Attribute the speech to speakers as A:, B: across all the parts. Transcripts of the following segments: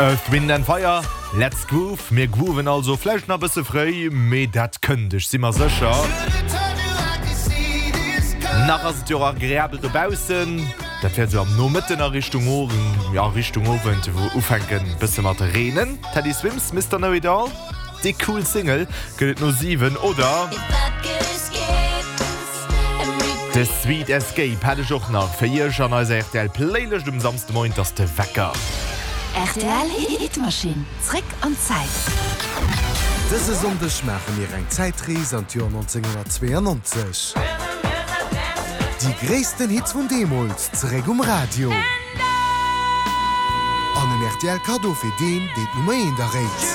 A: Earth, Wind and Fire, Let's Groove. Mir grooven also vläicht nach e bësse fréi, mee dat kënnt, ech si mer sécher. Nach ass et jo och agreabel dobaussen. Dat wäert esou am Nomëtten a Richtung Owend, ja Richtung Owend ufänken e bësse mat reenen. Teddy Swims, Mister Know It All, déi cool Single gëtt et no 7 oder? De Sweet Escape hat ech och nach fir iech an eiser rtl Playlëscht um Samsdemoien. 't ass de Wecker.
B: Rtl Hitmaschinn, zréck an d'Zäit.
C: Dëse Sonndeg maache mir eng Zäitrees an d'Joer 1992. Déi gréissten Hits vun deemools zeréck um Radio. An en rtl Kaddo fir deen, deen d'Nummer eent erréit.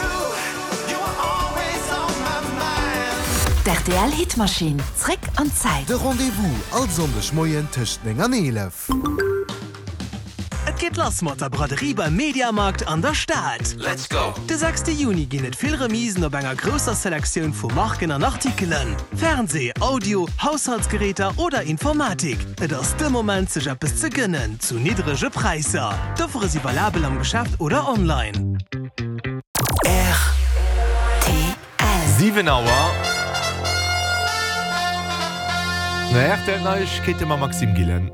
B: D'RTL Hitmaschinn, zréck an d'Zäit.
C: De Rendez-vous all Sonndeg Moien tëscht 9 an 11.
D: Et geet lass mat der Braderie beim Mediamarkt an der Stad! Let's go! De sechste Juni ginn et vill Remisen op enger grousser Selektioun vu Marken an Artikelen. Fernseh, Audio, Haushaltsgeräter oder Informatik, et ass de Moment sech eppes ze gënnen zu niddrege Präisser. D'Offere si valabel am Geschäft oder online.
B: Rtl.
A: 7 Auer. No rtl Neiegkeete mam Maxime Gillen.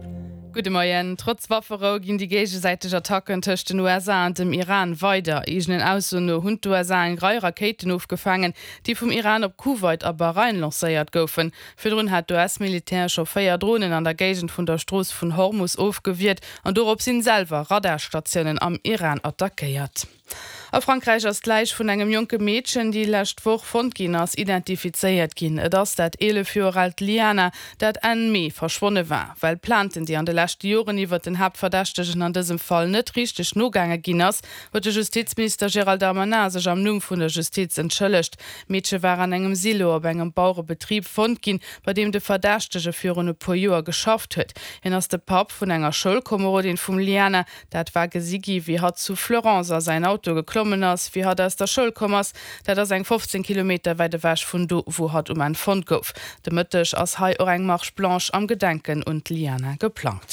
E: Gudde Moien. Trotz Wafferou ginn déi géigesäiteg Attacken tëscht den USA an dem Iran weider. Eegenen Aussoen no hunn d'USA eng Rei Rakéiten ofgefaangen, déi vum Iran op Kuwait a Bahrain lancéiert goufen. Virdrun hat d'US-Militär scho 4 Dronen an der Géigend vun der Strooss vun Hormus ofgewiert an dorop sinn selwer Radarstatiounen am Iran attackéiert. A Frankräich ass d'Läich vun engem jonke Meedchen, déi lescht Woch fonnt ginn ass, identifizéiert ginn. Et ass dat 11 Joer aalt Liana, dat Enn Mee verschwonne war. Well Plainten, déi an de leschte Joren iwwert den Haaptverdächtegen an dësem Fall net richteg nogaange ginn ass, huet de Justizminister Gérald Darmanin sech am Numm vun der Justiz entschëllegt. D'Meedche war an engem Silo op engem Bauerebetrib fonnt ginn, bei deem de Verdächtege virun e puer Joer geschafft huet. Hien ass de Papp vun enger Schoulkomerodin vum Liana. Dat war gesi gi wéi hatt zu Fleurance a säin Auto geklommen ass, wéi hatt aus der Schoul komm ass. Dat ass eng 15 Kilometer wäit ewech vun do, wou hatt um Enn fonnt gouf. De Mëtteg ass hei och eng Marche blanche am Gedenken un d'Liana geplangt.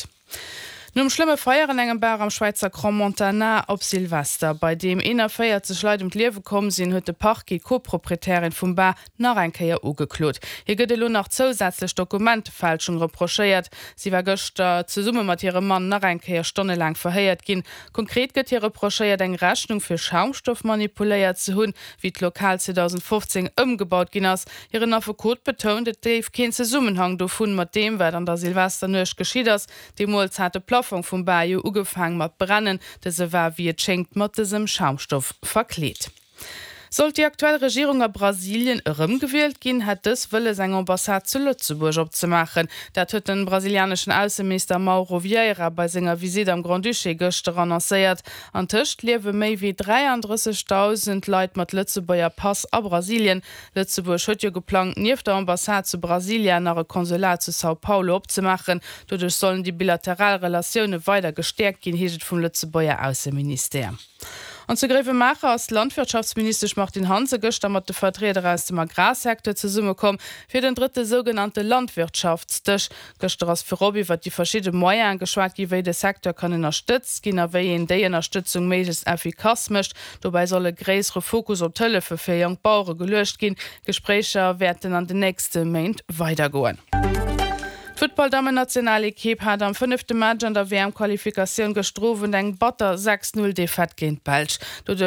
E: Nom schlëmme Feier an engem Bar am Schwäizer Crans-Montana op Silvester, bei deem 41 Leit ëm d'Liewe komm sinn, huet de Parquet d'Co-Proprietärin vum Bar nach eng Kéier ugeklot. Hir gëtt elo nach zousätzlech Dokumentefälschung reprochéiert. Si war gëschter zesumme mat hirem Mann nach eng Kéier stonnelaang verhéiert ginn. Konkret gëtt hir reprochéiert, eng Rechnung fir Schaumstoff manipuléiert ze hunn, wéi d'Lokal 2015 ëmgebaut ginn ass. Hiren Affekot betount, et géif keen Zesummenhang dovun mat deem, wat an der Silvesternuecht geschitt ass. Deemools hat de Plaffong vum Bar jo ugefaang mat brennen. Dëse war, wéi et schéngt, mat dësem Schaumstoff verkleet. Sollt déi aktuell Regierung a Brasilien erëmgewielt ginn, hätt dës wëlles eng Ambassade zu Lëtzebuerg opzemaachen. Dat huet den brasilianeschen Ausseminister Mauro Vieira bei senger Visitt am Grand-Duché gëschter annoncéiert. Antëscht liewe méi wéi 33.000 Leit mat Lëtzebuerger Pass a Brasilien. Lëtzebuerg huet jo geplangt, nieft der Ambassade zu Brasilia nach e Konsulat zu São Paulo opzemaachen. Doduerch sollen déi bilateral Relatioune weider gestäerkt ginn, heescht et vum Lëtzebuerger Ausseministère. An zu Gréiwemaacher ass d'Landwirtschaftsministesch Martine Hansen gëschter mat de Vertrieder aus dem Agrarsecteur zesummekomm fir den drëtte sougenannte Landwirtschaftsdësch. Gëschter ass virop iwwert déi verschidde Moyene geschwat gi wéi de Secteur kann ënnerstëtzt ginn a wéi een déi Ënnerstëtzung méiglechst effikass mécht. Dobäi soll e gréissere Fokus op d'Hëllefe fir jonk Bauere geluecht ginn. D'Gespréicher wäerten an den nächste Méint weidergoen. D'Futtballdammen-Nationalekipp hat am fënnefte Match an der WM-Qualifikatioun gëschter Owend eng batter 6, 0 Defaite géint d'Belsch.